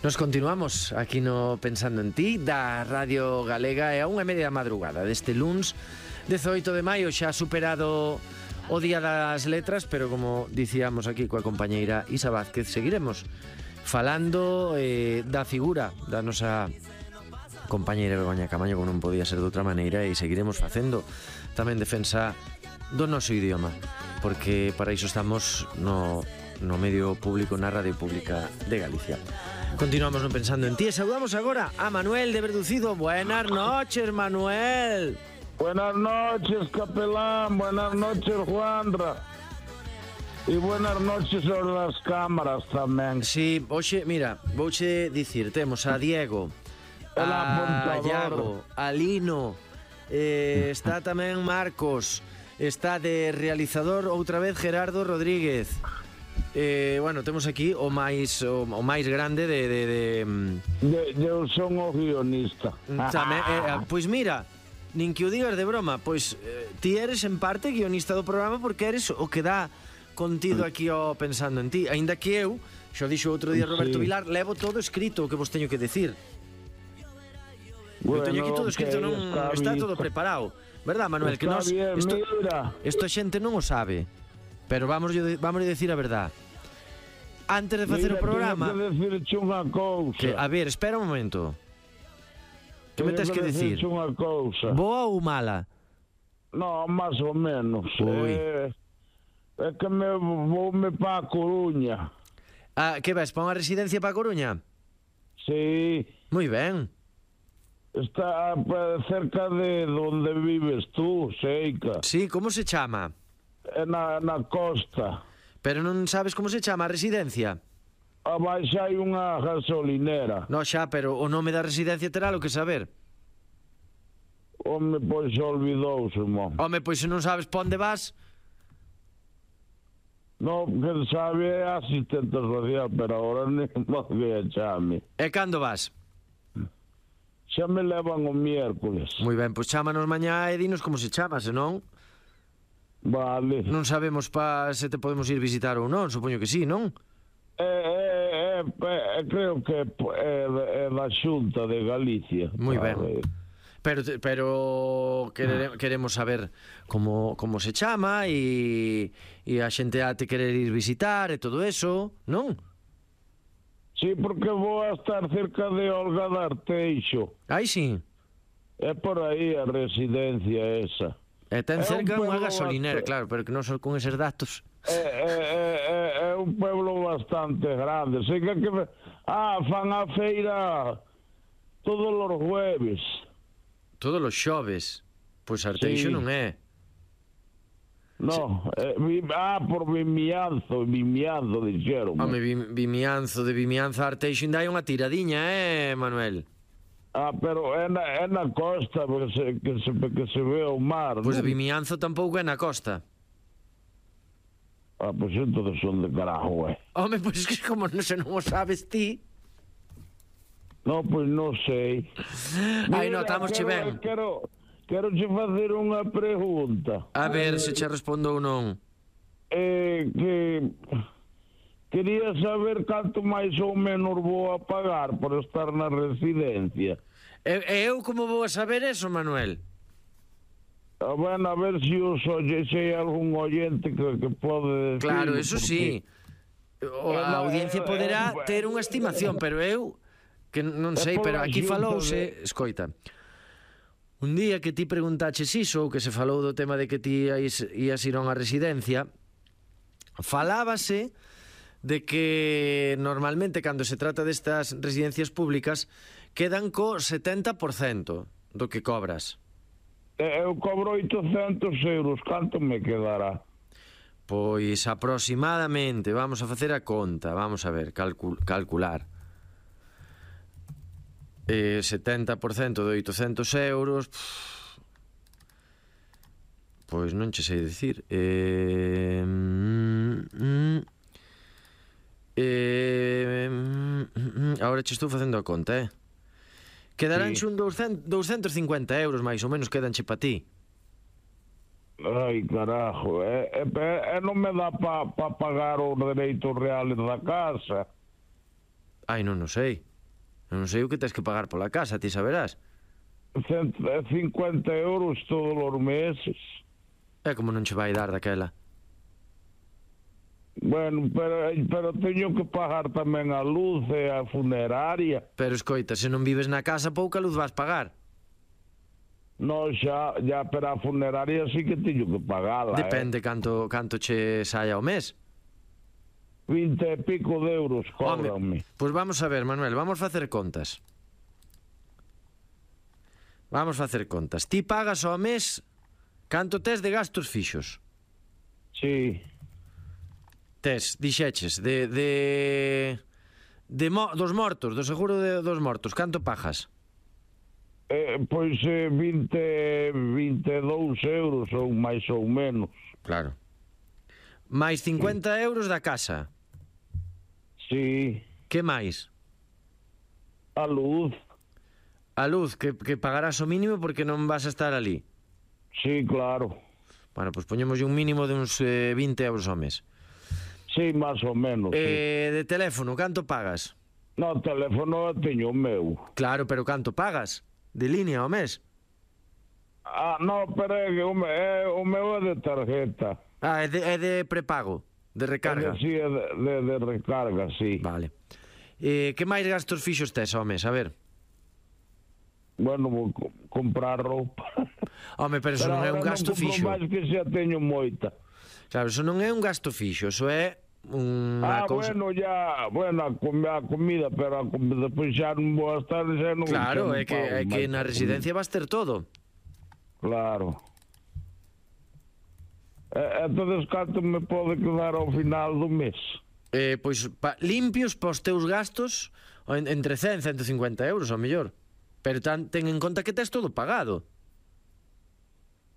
Nos continuamos aquí no Pensando en Ti da Radio Galega e a 1:30 da madrugada deste luns 18 de maio, xa superado o Día das Letras, pero como dicíamos aquí coa compañeira Isa Vázquez, seguiremos falando da figura da nosa compañeira Begoña Camaño, como non podía ser de outra maneira, e seguiremos facendo tamén defensa do noso idioma, porque para iso estamos no medio público, na radio pública de Galicia. Continuamos no Pensando en Ti e saludamos agora a Manuel de Verducido. Buenas noches, Manuel. Buenas noches, capelán. Buenas noches, Juanra. E buenas noches a las cámaras tamén. Sí, hoxe, mira, vouche dicir, temos a Diego, a Iago, a Lino, está tamén Marcos, está de realizador outra vez Gerardo Rodríguez. Bueno, temos aquí o máis grande Eu son o guionista. Tamén, pois mira, nin que o digas de broma, pois ti eres en parte guionista do programa, porque eres o que dá contido aquí ao Pensando en Ti. Aínda que eu, xo dixo outro día Roberto Vilar, levo todo escrito o que vos teño que decir. Eu teño aquí todo escrito, non está todo preparado, verdad, Manuel? Que nós isto a xente non o sabe. Pero vamos a decir a verdad. Antes de facer o programa... A ver, espera un momento. Que me tens que decir? Boa ou mala? No, máis ou menos. É que voume pa Coruña. Que vas, pa unha residencia pa Coruña? Sí. Moi ben. Está cerca de onde vives tú, Seica. Sí, como se chama? Na costa. Pero non sabes como se chama a residencia? Abaixo hai unha gasolinera. No, xa, pero o nome da residencia terá lo que saber. Home, pois olvidouse, mon. Home, pois se non sabes pa onde vas... No, que sabe é asistente social, pero agora non que chame. E cando vas? Xa me levan o miércoles. Moi ben, pois chámanos mañá e dinos como se chama, senón... Vale. Non sabemos se te podemos ir visitar ou non, supoño que sí, non? Creo que é da Xunta de Galicia. Moi ben. Pero queremos saber como se chama e a xente a te querer ir visitar e todo eso, non? Sí, porque vou a estar cerca de Olga de Arteixo. Aí sí. É por aí a residencia esa. E ten cerca unha gasolinera, claro, pero que non son con eses datos. É un pueblo bastante grande. Sei que fan a feira todos os jueves. Todos os xoves. Pois Arteixo non é. No, por Vimianzo dixeron. Home, Vimianzo, de Vimianzo a Arteixo ainda hai unha tiradiña, Manuel? Pero é na costa, que se ve o mar. Pois de Vimianzo tampouco é na costa. Pois entón son de carajo, Home, pois que como non o sabes ti. No, pois non sei. Ai, notamos-che ben. Quero che facer unha pregunta. A ver se che respondo ou non. Quería saber canto máis ou menos vou a pagar por estar na residencia. E eu como vou a saber eso, Manuel? Bueno, a ver se hai algún oyente que pode decir. Claro, eso sí. A audiencia poderá ter unha estimación, pero eu que non sei, pero aquí falouse, escoita. Un día que ti preguntaches iso, ou que se falou do tema de que ti ias ir a unha residencia, falábase de que normalmente cando se trata destas residencias públicas quedan co 70% do que cobras. Eu cobro 800 euros, canto me quedará? Pois aproximadamente, vamos a facer a conta, vamos a ver, calcular. 70% de 800 euros, pois non che sei dicir. Agora che estou facendo a conta, Quedaránche un 250 euros máis ou menos, quedanche pa ti. Ai, carajo, non me dá pa pagar os dereitos reales da casa. Ai, non sei. Non sei o que tens que pagar pola casa, ti saberás. 150 euros todos os meses. É como non che vai dar daquela. Bueno, pero teño que pagar tamén a luz e a funeraria. Pero escoita, se non vives na casa, pouca luz vas pagar. No, xa, pero a funeraria sí que teño que pagala. Depende canto che saia ao mes. 20 e pico de euros cóbrame. Pois vamos a ver, Manuel, vamos facer contas. Vamos facer contas. Ti pagas ao mes canto tes de gastos fixos? Sí. Tes, dixeches, dos mortos, do seguro dos mortos, canto pagas? Pois 22 euros ou máis ou menos. Claro. Mais 50 euros da casa. Sí. Que máis? A luz. A luz, que pagarás o mínimo porque non vas a estar ali. Sí, claro. Bueno, pois poñemos un mínimo de uns 20 euros ao mes. Sí, máis ou menos. Sí. De teléfono, canto pagas? No, teléfono teño o meu. Claro, pero canto pagas? De línea ao mes? No, pero é que o meu é de tarjeta. É de prepago, de recarga. Sí, é de recarga, sí. Vale. Que máis gastos fixos tes ao mes? A ver. Bueno, vou comprar roupa. Home, pero iso non é un gasto fixo. Pero non compro máis que xa teño moita. Claro, iso non é un gasto fixo, iso é unha cousa... Bueno, a comida, pero depois xa non vou estar, xa non... Claro, é que na residencia vas ter todo. Claro. Entonces, canto me pode quedar ao final do mes? Pois, limpios para os teus gastos, entre 100 e 150 euros, ao mellor. Pero ten en conta que tes todo pagado.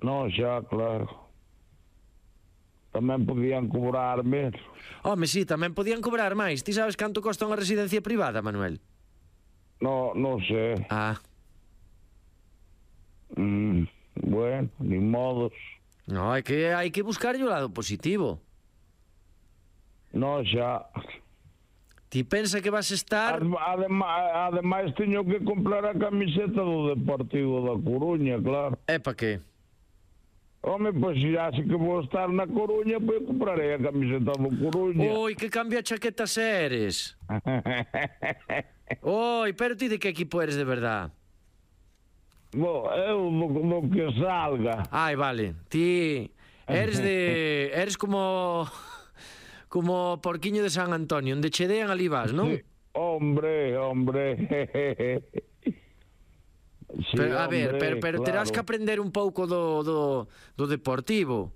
No, xa, claro. Tamén podían cobrar menos. Home, sí, tamén podían cobrar máis. Ti sabes canto costa unha residencia privada, Manuel? No, non sei. Bueno, ni modos. No, hai que buscar o lado positivo. No, xa. Ti pensa que vas estar... Ademais, teño que comprar a camiseta do Deportivo da Coruña, claro. É pa que? Home, pois xa se que vou estar na Coruña, pois comprarei a camiseta do Coruña. Oi, que cambia chaquetas eres. Oi, pero ti de que equipo eres de verdad? Eu do que salga. Ai, vale. Ti eres como... como porquiño de San Antonio, onde che dean ali vas, non? Sí. Hombre. Sí, pero, a ver, pero claro. Terás que aprender un pouco do Deportivo.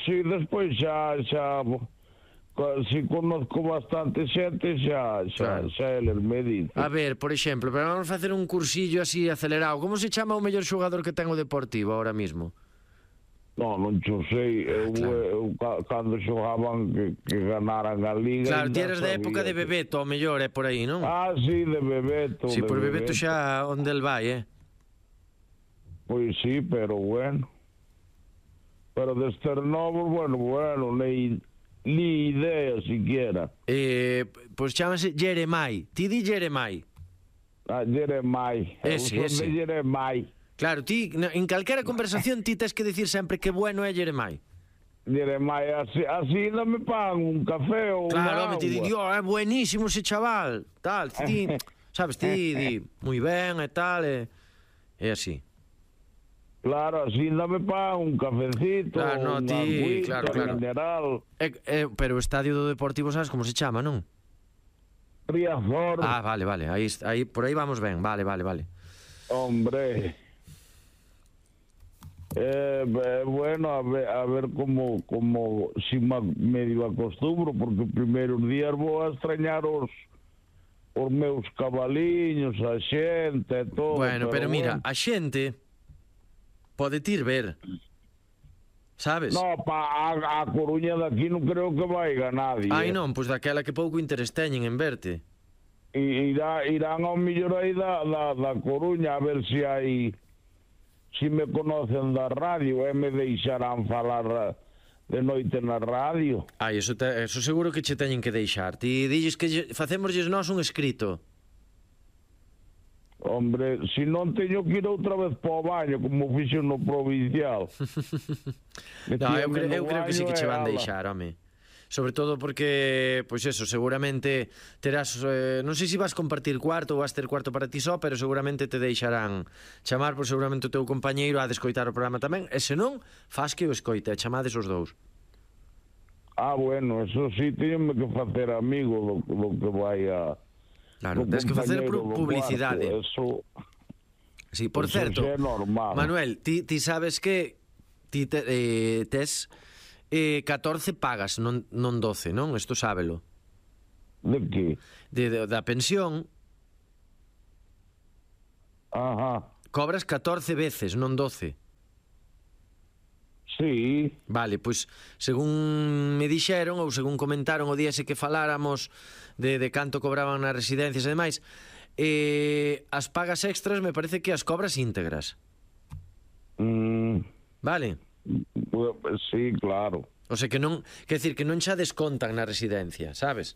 Sí, despois xa si conozco bastante xente, xa eles me dicen. A ver, por exemplo, pero vamos facer un cursillo así acelerado. Como se chama o mellor xogador que ten o Deportivo ahora mismo? Non xo sei. Eu cando xogaban que ganaran a Liga... Claro, ti eres da época de Bebeto, ao mellor, é por aí, non? Sí, de Bebeto. Sí, por Bebeto xa onde el vai, Pois sí, pero bueno. Pero destes novos, bueno, ni idea siquiera. Pois chámase Jeremai. Ti di Jeremai. Jeremai. Ese. Jeremai. Claro, ti, en calquera conversación ti tes que dicir sempre que bueno é Jeremai. Jeremai, así non me pagan un café ou claro, unha agua. Claro, ti di, é buenísimo ese chaval, tal, ti, sabes, ti di, moi ben e tal, é así. Claro, así non me pagan un cafecito, claro, no, ti, claro. Mineral. Pero o estadio do Deportivo sabes como se chama, non? Riazor. Vale, aí, por aí vamos ben, vale. Hombre... bueno, a ver como si medio acostumbro, porque primeiros días vou a extrañar os meus cabaliños, a xente e todo. Bueno, pero mira, a xente pode ir ver, sabes? No, a Coruña daqui non creo que vaiga nadie. Ai non, pois daquela que pouco interés teñen en verte. Irán ao millor aí da Coruña a ver se hai... Si me conocen da radio, me deixarán falar de noite na radio. Ai, eso seguro que che teñen que deixar. Ti dilles que facémoslles nós un escrito. Hombre, se non teño que ir outra vez para o baño, como fixo no provincial. No, eu creo que sí que che van deixar, home. Sobre todo porque, pois eso, seguramente terás, non sei se vas compartir cuarto ou vas ter cuarto para ti só, pero seguramente te deixarán chamar, por seguramente o teu compañeiro a descoitar o programa tamén, e se non, faz que o escoite, e chamades os dous. Bueno, eso sí, teñenme que facer amigo do que vai a... Claro, tens que facer publicidade. Eso... Sí, por certo, é normal. Manuel, ti sabes que ti tes 14 pagas, non 12, non? Isto sábelo. De que? Da pensión. Ajá. Cobras 14 veces, non 12. Sí. Vale, pois según me dixeron ou según comentaron o día ese que faláramos de canto cobraban nas residencias e demais, as pagas extras me parece que as cobras íntegras. Vale? Sí, claro. O sea que non, quer decir que non xa descontan na residencia, sabes?